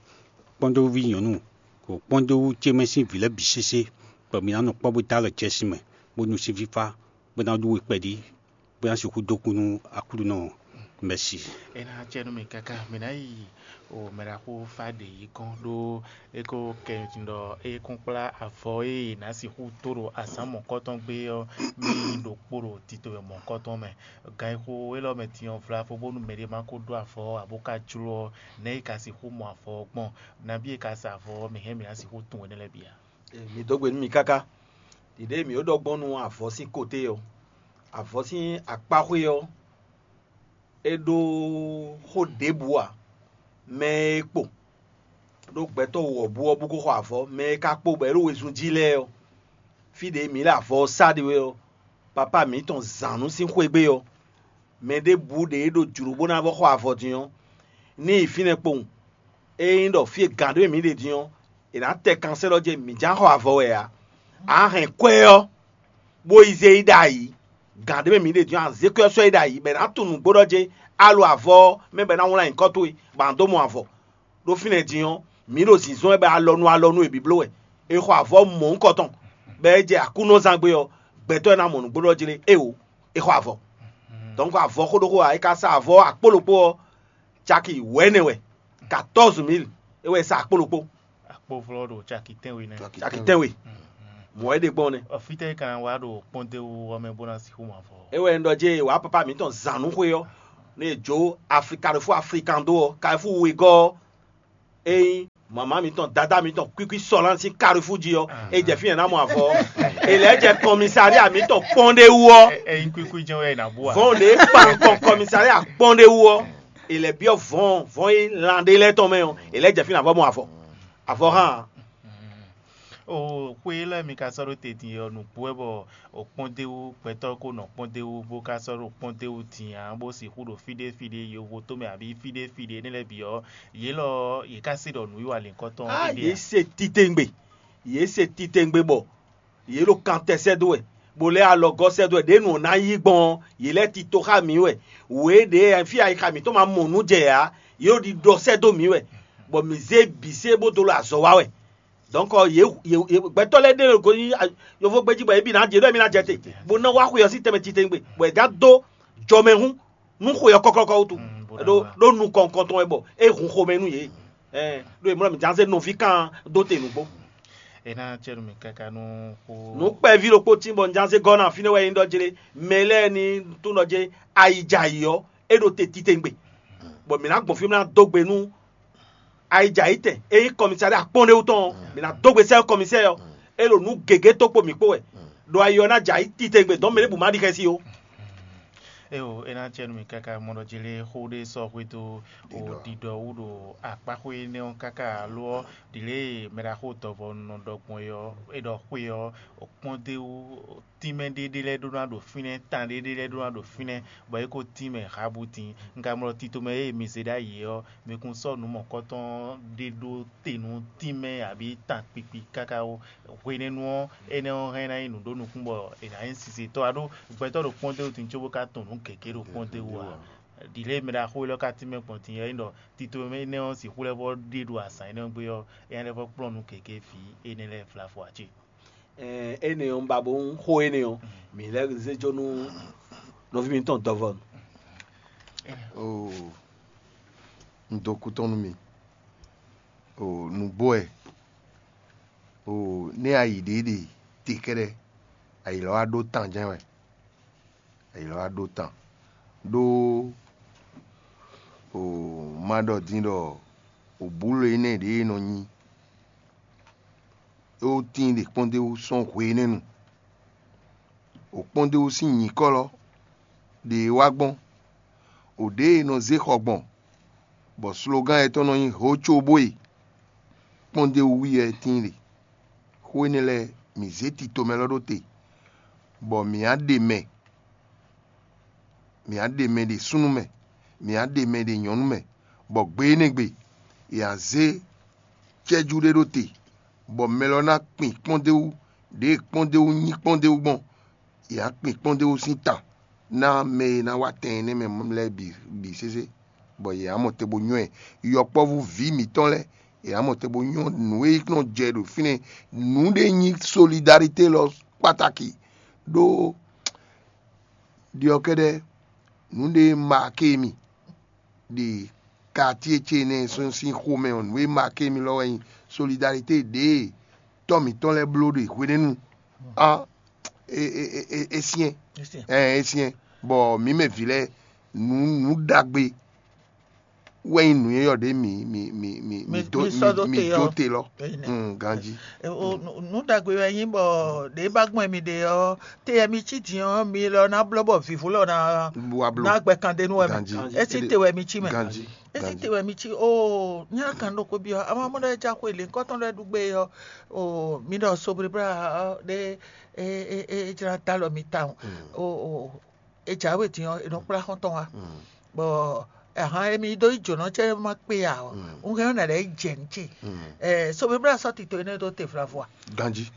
kpɔ́ndéwúví nyɔ̌nu, ɖo kpɔ́ndéwú ce mɛ sín vǐ lɛ́ɛ bǐ sésé, bɔ mǐ ná nɔ kpɔ́ bó dó alɔ jɛ sin mɛ, bó nu sin fífá, bó ná ɖú we kpɛɖí, bó ná sixú dó kú nú Aklúnɔ. Mɛsi. É ná acɛ nú mì káká mǐ ná yi o mɛɖaxó fá ɖě yi kɔn ɖó é ko kɛ ɖɔ é kún kplá avɔ e è nǎ sixú tó ɖo azǎn mɔ̌kɔtɔn gbé ɔ́, mì yi ɖokpó ɖo tito e mɔ̌kɔtɔn mɛ. Gan e xo élɔ́ mɛ din ɔ́ vlavo bónú mɛɖé ma ko ɖó avɔ ɔ́, abó ka jló ɔ́, nɛ̌ è ka sixú mɔ avɔ ɔ́ gbɔn? Nabí è ka sa avɔ ɔ́, mǐ hɛn mǐ ná sixú tunwun énɛ́ lɛ́ɛ bǐ a? Mǐ dó gbe nú mi káká. Ɖiɖée mǐ ɖɔ gbɔn nú avɔ sín koté ɔ́, avɔ sín akpáxwé ɔ́, é ɖó xó ɖěbǔ ǎ. Mɛ e kpo ɖó gbɛtɔ́ wɔ̌bú ɔ́ bú ko xɔ avɔ, mɛ e ka kpo bɔ é ɖo wezun jí lɛ́ɛ ɔ́, fí ɖě mǐ ɖo avɔ ɔ́ sá ɖe wɛ ɔ́, papá mǐtɔn zǎn nú sín xwé gbe ɔ́, mɛ ɖěbǔ ɖě e ɖo jlǒ bó ná vɔ́ xɔ avɔ din ɔ́, ní yi fínɛ́ kpowun. Ényí ɖɔ fí e gǎn ɖé mɛ mǐ ɖe din ɔ́, è nǎ tɛ kansɛ́lɔ jɛ mǐ ján xɔ avɔ wɛ ǎ. A hɛn kwɛ́ ɔ́, bó yi zé yi ɖ'ayǐ. Gǎn ɖé mɛ mǐ ɖe din ɔ́, a zě kwɛ́ ɔ́ sɔ́ yi ɖ'ayǐ, bɔ è nǎ tunwun nǔgbó ɖɔ jé a lo avɔ ɔ́ mɛ bɔ è nǎ wlán nyǐkɔ towe, bɔ a nǎ dó mɔ avɔ. Ɖó fínɛ́ din ɔ́, mǐ ɖo zǐnzɔ́n wɛ bɔ alɔnu alɔnu e bǐbló wɛ. È xɔ avɔ mɔ̌hunkɔtɔn, bɔ é jɛ Aklúnɔzángbe ɔ́, gbɛtɔ́ e ná mɔ nǔgbó ɖɔ jlé éwo, è xɔ avɔ. Dɔnku avɔ xó ɖokpó ǎ, è ka sa avɔ akpó ɖokpó ɔ́, caki wɛ̌nɛ wɛ, katɔ́ɔ́zu mǐl é wɛ è sa akpó ɖokpó. Akpóvlɔ́ ɖo caki tɛ́nwe nɛ́. Caki tɛ́nwe. Mɔ̌ é ɖe gbɔn nɛ́. Fítɛ́ ka ná wá ɖo kpɔ́ndéwú ɔ́ mɛ bó ná sixú mɔ avɔ? É wɛ un ɖɔ jé wǎ papá mǐtɔn zǎn nú xwé ɔ́, nú è jó Afri Carrefour Africando ɔ́, Carrefour wegɔ́ ɔ́, ényí mama mǐtɔn, dadá mǐtɔn kwíkwí sɔlán sín Carrefour jí ɔ́, é jɛ fínɛ́ ná mɔ avɔ ɔ́. È lɛ́ jɛ kɔmisária mǐtɔn kpɔ́ndéwú ɔ́. Ényí kwíkwí jɛ́n wɛ è nǎ bú ǎ. Vɔ̌n ɖě kpan nukɔn kɔmisária kpɔ́ndéwú ɔ́, è lɛ́ byɔ́ vɔ̌n vɔ̌n e lan ɖé lɛ́ɛ tɔn mɛ ɔ́, è lɛ́ jɛ fínɛ́ avɔ mɔ avɔ. Avɔ hán ǎ. O xwe lɛ́ɛ mi ka sɔ́ ɖó te din ɔ́, nǔgbó wɛ bɔ o kpɔ́ndéwú gbɛtɔ́ ko nɔ kpɔ́ndéwú bó ka sɔ́ ɖo kpɔ́ndéwú din ǎ, bó sixú ɖo fí ɖé fí ɖé yovo tomɛ abǐ fí ɖé fí ɖé énɛ́ lɛ́ɛ bǐ ɔ́, yě lɔ ɔ́, yě ka se ɖɔ nǔwiwa lǐnkɔ́tɔn Á, éɖée yě ǎ. Se titewungbe, yě se titewungbe bɔ yě ɖo kantɛ sɛ́ dó wɛ, bó lɛ́ alɔgɔ́ sɛ́ dó wɛ. Ɖěe nǔ ɔ́ ná yí gbɔn ɔ́, yě lɛ́ tito xá mǐ wɛ. Wě ɖě fí ayixa mǐtɔn ma mɔ nǔ jɛ ǎ, yě ɖo ɖiɖɔ sɛ́ dó mǐ wɛ, bɔ mǐ zé bǐ se bó dó ɖo azɔ̌ wa wɛ. Donc yě yě yě gbɛtɔ́ lɛ́ɛ ɖe ɖo go nyi a- yovógbé jí bɔ yě bǐ ná jɛ ɖɔ émí ná jɛ te, bó ná wá xwe ɔ́ sín tɛnmɛ titewungbe, bɔ è gán dó jɔmɛhún nú xwe ɔ́ kɔ́kɔ́kɔ́ wútu. Mm, bó ná Ɖó wá. Ɖó nukɔn nukɔntɔn wɛ bɔ é hun xomɛ nú yě. Ɛɛ, ɖó è mlɔ́ mǐ ján zé nɔví kan dó te nǔgbó. É ná cɛ nú mì káká nú xó. Nǔ kpɛví ɖokpó tín bɔ un ján zé gɔ́ ná fínɛ́ wɛ nyí ɖɔ jlé mɛ lɛ́ɛ ní tún ɖɔ jlé ayi jɛ ayǐ ɔ́, é ɖo te titewungbe. Bɔ mǐ ná gbɔn fí mì ná dó gbe nú ayi jɛ ayǐ tɛn é nyí kɔmisáɖɛ akpɔ́nɖéwú tɔn ɔ́, mǐ ná dó gbe sɛ́ kɔmisɛ́ ɔ́. É ɖo nǔ gěgé tó kpo mǐ kpó wɛ. Ɖo ayi ɔ́ ná jɛ ayǐ titewungbe dɔn mɛ ɖěbǔ má ɖi xɛsi ó. Eo, é ná cɛ nú mì káká mɔ ɖɔ jlé xó ɖé sɔ́ xwedó o ɖiɖɔ wú ɖo akpáxwé énɛ́ ɔ́ káká alo ɔ́, ɖi lě e mɛɖaxó dɔvɔ nɔ ɖɔ gbɔn é ɔ́, é ɖɔ xwé ɔ́, kpɔ́ndéwú tínmɛ ɖé ɖé lɛ́ɛ ɖó ná ɖo fínɛ́, tan ɖé ɖé lɛ́ɛ ɖó ná ɖo fínɛ́, bɔ é ko tínmɛ Habu din. Un ka mlɔ tito mɛ e mi zé ɖ'ayǐ ɔ́, mi kún sɔ́ nǔ mɔ̌kɔtɔn ɖé ɖó te nú tínmɛ abǐ tan kpikpi káká ó. Hwenɛ́nu ɔ́, énɛ́ ɔ́ hɛn ná nyí nǔ ɖó nukún bɔ è nǎ nyí sisetɔ́ ǎ ɖó gbɛtɔ́ ɖo kpɔ́ndéwú din cóbó ka tunwun nǔ gěgé ɖo kpɔ́ndéwú ǎ. Ɖi lě e mɛ ɖaxó élɔ́ ka tínmɛ gbɔn din ɔ́, é nyí ɖɔ tito mɛ énɛ́ ɔ́ sixú lɛ́ vɔ́ ɖe ɖo azǎn énɛ́ ɔ́ gbe ɔ́, é ná lɛ́ vɔ́ kplɔ́n nú gěgé vǐ énɛ́ lɛ́ɛ vlavo ǎ cé? Ɛɛ, énɛ́ ɔ́, un ba bó xó énɛ́ ɔ́, mǐ lɛ́ zé jó nú nɔví mǐtɔn dɔvɔ. Oo, un dó kú tɔn nú mi. Oo, nǔgbó wɛ. Oo, nɛ́ a yi ɖě ɖe te kɛ́ɖɛ́, a yi lɔ wá ɖó tan jɛ́n wɛ. A yi lɔ wá ɖó tan. Ɖó oo, má ɖɔ din ɖɔ òbúlo énɛ́ ɖě e nɔ nyi é ó tíin ɖe kpɔ́ndéwú sɔ́ hwenɛ́nu. Òkpɔ́ndéwú sín nyǐkɔ lɔ ɖě wá gbɔn, ò ɖěe è nɔ zé xɔ gbɔn, bɔ slogán yětɔn nɔ nyí hǒcóbóe. Kpɔ́ndéwú wú yɛ tíin ɖe. Xó énɛ́ lɛ́ɛ, mǐ zé tito mɛ lɔ ɖó te, bɔ mǐ á ɖe mɛ, mǐ á ɖe mɛ ɖe súnnu mɛ, mǐ á ɖe mɛ ɖe nyɔ̌nu mɛ, bɔ gbe énɛ́ gbe, è nǎ zé cɛ́jú ɖé ɖó te, bɔ mɛ lɔ ná kpin kpɔ́ndéwú, ɖěe kpɔ́ndéwú nyí kpɔ́ndéwú gbɔn, è nǎ kpin kpɔ́ndéwú sín ta ná mɛ e ná wá tɛn énɛ́ mɛ lɛ́ɛ bǐ bǐ sésé, bɔ yě ná mɔ te bó nywɛ́ ɛ. Yɔkpɔ́vú vǐ mǐtɔn lɛ́ɛ, yě ná mɔ te bó nywɛ́ nǔ e nɔ jɛ ɖo fínɛ́. Nǔ ɖé nyí solidarité lɔ kpataki ɖó ɖiɔkɛ́ɖɛ́, nǔ ɖé maké mi ɖi katíe ce énɛ́ sɔ́ sín xomɛ ɔ́, nǔ e maké mi lɔ wɛ nyí solidarité ɖě e tɔ́ mǐtɔn lɛ́ɛ bló ɖe hwenɛ́nu á é é é é é syɛ́n. Ɛ é syɛ́n, bɔ mǐ mɛ vǐ lɛ́ɛ, nǔ nǔ ɖagbe wɛ nyí nǔ e yɔ ɖě mǐ mǐ mǐ mǐ mǐ dó mǐ dó te lɔ. Ganjí. Nǔ ɖagbe wɛ nyí bɔ ɖě ba gbɔn mi ɖe ɔ́, te wɛ mi cí din ɔ́, mi lɔ ná blɔ́ bɔ vǐvú lɔ ná ná gbɛ kan ɖe nú wɛ mɛ. Esi te wɛ mi cí mɛ. Esi te wɛ mi cí o nyá kan ɖokpó byɔ́ ama mɔ ɖɔ ja xwe lě kɔ́tɔn lɛ́ɛ ɖu gbé ɔ́, o mi ɖɔ soblíblá ɖé é jlá dó alɔ mi tawun. O o e jǎwe din ɔ́, è nɔ kplá xɔ́ntɔn wá. Bɔ ahan emi dó yi jǒnɔ cɛ ma kpé ya ɔ́, un hɛn ɔ́ nǎ lɛ́ yi jɛ nǔ ce. Soblíblá sɔ́ tito énɛ́ dó te vlavo a? Ganjí.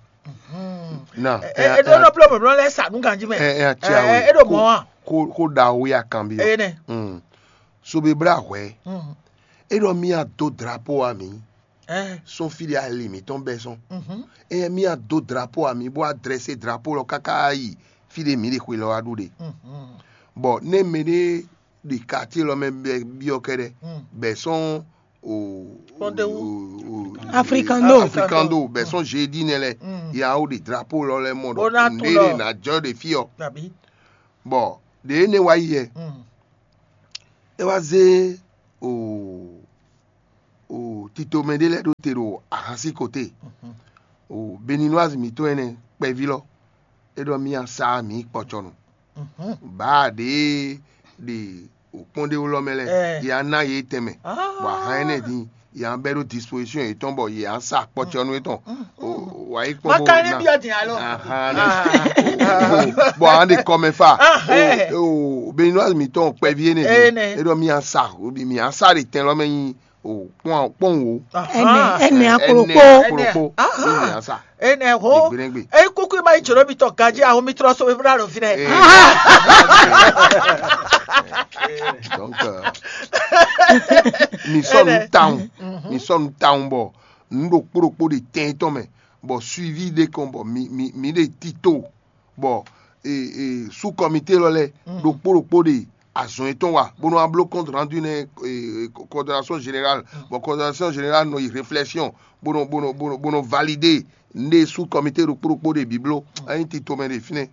Na é ɖó nɔ bló mɔ̌mlɔ lɛ́ sa nú ganjí mɛ. Ɛ ɛ ati awe. É ɖo mɔ̌ a? Kó kó ɖaxó ya kanbyɔ. Énɛ́. Soblíblá hwɛ. É ɖɔ mía dó drapo a mǐ. Sɔ́n fí ɖé ali mǐtɔn bɛ́ sɔ́n. Ényí mì a dó drapo a mǐ bó a drɛsé drapo lɔ káká yi fí ɖé mǐ ɖe xwe lɔ wá ɖu ɖe. Bɔ nɛ́ mɛɖé ɖi katié lɔ mɛ bɛ byɔ́ kɛ́ɖɛ́, bɛ sɔ́n o Kpɔ́ndéwú. Afrikando. Afrikando bɛ sɔ́n jeudi nɛ lɛ. ya wó ɖe drapo lɔ lɛ́ɛ mɔ ɖɔ nǔɖé ɖe nǎ jɔ ɖe fí ɔ́. Bɔ ɖě énɛ́ wá yi ɛ, é wá zé o o titomɛ ɖé lɛ́ɛ ɖó te ɖo ahan sín kote. O Beninoise mǐtɔn ɛnɛ kpɛví lɔ, é ɖɔ mì a sa mǐ kpɔcɔnu. Bǎ ɖě ɖe o kpɔ́n ɖé wlɔ́ mɛ lɛ́ɛ, ya ná yě tɛnmɛ, bɔ ahan énɛ́ din ya bɛ́ ɖó disposition yětɔn bɔ yě á sa kpɔcɔnu yětɔn. Wǎ yi kpɔ́n bó ná. Ahan ɖe. Bɔ ahan ɖe kɔmɛ fa. O Beninoise mǐtɔn kpɛví énɛ́ din, é ɖɔ mì a sa, mǐ á sa ɖe tɛn lɔ mɛ nyi o kpɔ́n kpɔ́n wò. Ɛnɛ, ɛnɛ aklokpo. Aklokpo. Mì á sa. Enɛ ho. Gbeɖégbé. Eyi kuku ma yi jǒnɔ mitɔn ganjí aho mi trɔ so mi bla ɖo fínɛ. Donc, euh, mi sɔnu tawun, mi sɔnu tawun bɔ nu ɖokpó ɖokpó ɖe tɛn tɔn mɛ, bɔ suivi ɖe kɔn bɔ mi mi mi ɖe tito bɔ e e sous comité lɔ lɛ ɖokpó ɖokpó ɖe azɔn yětɔn wa bó nɔ wá bló compte rendu nɛ e coordination générale, bɔ coordination générale nɔ yi réflexion bó nɔ bó nɔ bó nɔ bó nɔ validé nɖe sous comité ɖokpó ɖokpó ɖe bǐ bló. Ényí titomɛ ɖe fínɛ́.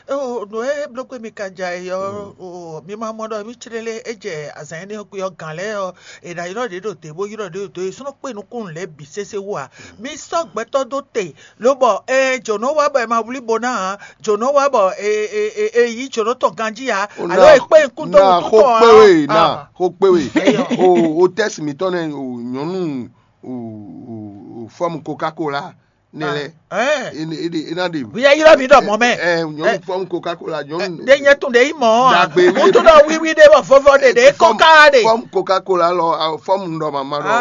Eo nǔ e bló gbé mi ka ja e ɔ́, o mi ma mɔ ɖɔ mi clélé é jɛ azǎn énɛ́ ɔ́ gbe ɔ́ gǎn lɛ́ɛ ɔ́, è nǎ ylɔ́ ɖě ɖo dě bó ylɔ́ ɖě ɖo dě, é sɔ́ nɔ kpé nukúnnú lɛ́ɛ bǐ sésé wú ǎ. Mi sɔ́ gbɛtɔ́ dó te, lobɔ ɛ jǒnɔ wá bɔ è ma wlí bo ná ǎ, jǒnɔ wá bɔ è è è è yí jǒnɔ tɔn ganjí ǎ, alo è kpé nukún dó wútu tɔn ǎ. Xó kpé we ná, xó kpé we. O o tɛ́si mǐtɔn nɛ́ o nyɔ̌nu o o o fɔ́mu Coca-Cola nɛ lɛ. Ɛ ɛ ɛ ná ɖe. Bóyá ylɔ́ mi ɖɔ mɔ̌ mɛ. Ɛ nyɔ̌nu fɔ́mu Coca-Cola nyɔ̌nu. Ɖe nyɛ tún ɖe yí mɔ̌ ǎ. Dagbe wí. Wútu ɖɔ wíwí ɖe bɔ vɔvɔ ɖe ɖe kɔ́ká ɖe. Fɔ́mu Coca-Cola lɔ fɔ́mu ɖɔ mama ɖɔ.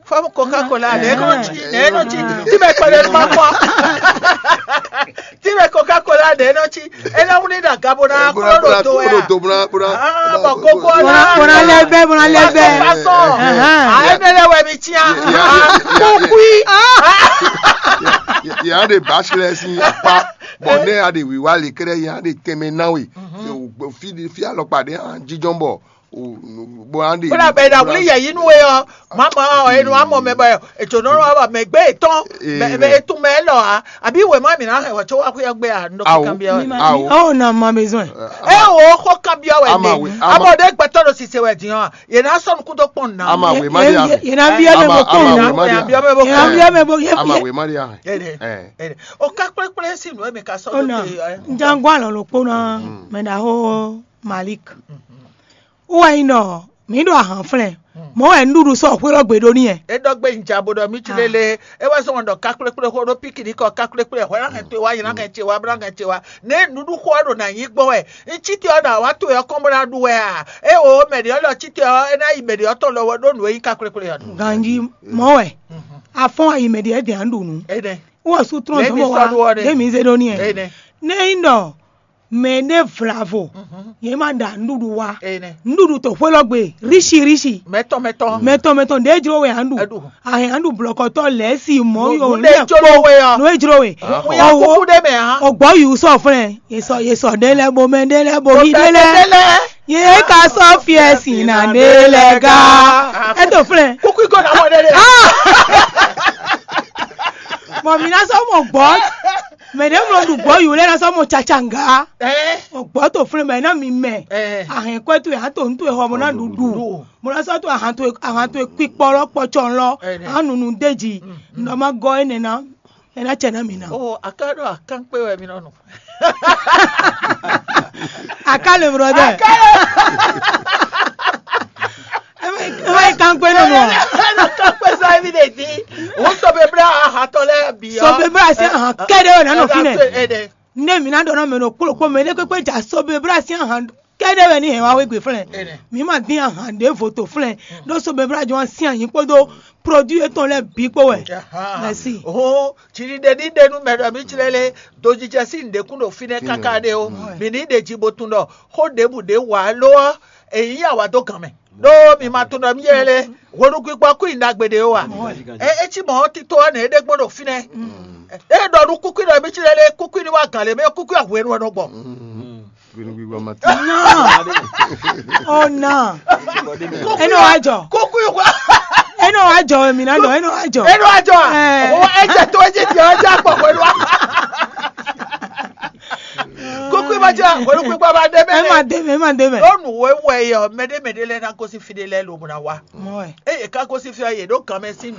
Fɔ́mu Coca-Cola ɖe nɔ tsi ɖe nɔ tsi tí bɛ kpɛɖe nɔ ma kpɔ. Tí bɛ Coca-Cola ɖe nɔ tsi é ná wlí ɖo aga bó ná kplɔ́ ɖo do wɛ a. Bó ná kókó ná. Bó ná lɛ bɛ bó ná lɛ bɛ. Ayé ne lɛ wɛ mi tia. Kókó yi. Yà á ɖe bàṣẹ lɛ sín apá bɔ nɛ a ɖe wíwá lè kɛɖɛ yà á ɖe tɛmɛ náwó. Fi fi alɔkpa ɖe hàn jíjɔn bɔ bɔ a ɖe. Kódà bɛ na wuli yɛ yinu we ɔ, mama ɔ enu amɔ mɛ bɔ ètò nɔnɔ wa mɛ gbé etɔn mɛ etun mɛ lɔ a àbí wɛ má mi na hɛ wɔ tso wa kúyɔ gbé a nɔ kó kan biɔ wɛ. Awo na ma besoin. E wo xɔ kan biɔ wɛ ne amɔ ɖe gbɛtɔ ɖo sise wɛ diɔ a yɛ na sɔnu kúndó kpɔn na. Ama we ma di a. Yɛ na biɔ mɛ bo kpɔn na. Yɛ na biɔ mɛ bo kpɔn na. Ama we ma di a. O ka kplekple si nu mi ka sɔ do te. Njangwa lɔ lo kpɔn na mɛ na ho Malik. Wɛ nyí ɖɔ mǐ ɖo ahan flɛ́n, mɔ̌ wɛ nǔɖuɖu sɔ́ xwé lɔ gbe ɖó n'i wɛ. É ɖɔ gbé nja bó ɖɔ mí cí lélé, é wɛ zɔ́n ɖɔ ká kplékplé xó ɖó píkinikɔ ká kplékplé hwɛ ná hɛn towe wá, yi ná hɛn ce wá, bó ná hɛn ce wá. Nɛ̌ nǔɖuɖu xó ɔ́ ɖo nǎ nyí gbɔn wɛ? Un cí te ɔ́ ɖo awǎ towe ɔ́ kɔn bó ná ɖu wɛ a? É wo mɛ ɖě ɔ́ lɔ cí te ɔ́, é ná yi mɛ ɖě ɔ́ tɔn lɔ wɛ ɖó nǔ e nyí ká kplékplé ɔ́ ɖu. Ganjí mɔ̌ wɛ, afɔ́n ayi mɛ ɖě dɛ̌n ɖu nǔ. Énɛ́. Wɔ sú trɔ́n dɔ̌n bɔ wá ɖé mi zé ɖó n'i wɛ. Énɛ́. Nɛ́ nyí ɖɔ mɛ ɖé vlavo, yě ma ɖa nǔɖuɖu wá. Nǔɖuɖu to xwé lɔ gbe ríshi ríshi. Mɛtɔn mɛtɔn. Mɛtɔn mɛtɔn ɖě jló we aɖu. Ahɛn aɖu blɔkɔtɔ lɛ̌ si mɔ yo lɛ kpó nú e jló we. Owo ogbɔ yi sɔ flɛ, yě sɔ yě sɔ ɖé lɛ bo mɛ ɖé lɛ bo yi ɖé lɛ. Yě ka sɔ fiɛ si na ɖé lɛ ga. Eto flɛ. Kúkú ikɔ na mɔ ɖé lɛ. Bɔn mi na sɔ mɔ gbɔ. Mɛ ɖě mlɔ ɖu gbɔ̌ yǒ lɛ́ɛ ná sɔ́ mɔ caca ŋgá. Ɛ. Gbɔ̌ to flɛ́n bɔ é ná mi mɛ. Ɛ. Ahɛn kwɛ́ towe, a to nǔ towe xɔ bó ná ɖu ɖu. Ɖu. Bó ná sɔ́ to ahan towe ahan towe kpikpɔ lɔ kpɔcɔ lɔ. Ɛ. A nu nu d'é jí. Nɔ ma gɔ́ énɛ́ ná. É ná cɛ ná mi ná. O a ka ɖo akán kpé wɛ mi nɔ nɔ. Aká le brɔdɛ. Aká le. Ewé kan gbé nɔ nɔ. Ɛnɔ kan kpé sɔ evi ɖe di. Wò sɔbebla ahatɔ lɛ bi ɔ. Sɔbebla se ahan kɛɖɛ wɛ nanɔ fi nɛ. Ɛnɛ. Ne mi na ɖɔ nɔ mɛ ɖo kpolo kpɔ mɛ ne kpekpe dza sɔbebla se ahan kɛɖɛ wɛ ni hɛn wa wegbe flɛ. Ɛnɛ. Mi ma dín ahan ɖe voto flɛ. Ɖo sɔbebla jɔ wa sin anyi kpódó produit etɔn lɛ bi kpó wɛ. Aha. Merci. Oh, jiriɖe ní ɖe nú mɛ ɖɔ mí jlɛ́ lé dojijɛ sín nǔɖékún ɖo fínɛ́ káká ɖé ó. Mǐ ní ɖe jí bó tunwun ɖɔ xó ɖěbǔ ɖé wa ló ɔ́, è nyǐ yě wǎ dó gǎn mɛ. Ɖó mi ma tunwun ɖɔ mí jlɛ́ lé hweɖugbígbɔ kú nyi ɖagbe ɖé ó wa. É é cí mɔ̌ tito ɔ́ nɛ é ɖe gbɔn ɖo fínɛ́. É ɖɔ nú kúkú ɖɔ mí jlɛ́ lé kúkú ní wá gǎn lě mɛ kúkú ɔ́ hwenu ɔ́ nɔ gbɔ. Gbinigbigbɔ ma ti. Nɔ. Ɔ nɔ. Enɔ wa jɔ. Kúkú wá. E Eno ajɔ mi na nɔ eno ajɔ. Eno ajɔ a? Ɛ. O ejɛ to ejɛ ti ɔjɔ akpɔ hwenu a. Kókó ma jẹ hwenu kpíkpá ma dé Ẹ má mẹ. dé mɛ, ẹ má dé mɛ. Lónù wẹ́wẹ́ yẹ mɛɖé mɛɖé lɛ ná gosí fi ɖé lɛ lòmù ná wa. Mɔ ɛ. Eye ká gosí fi yẹ ɖó kan mɛ sí nù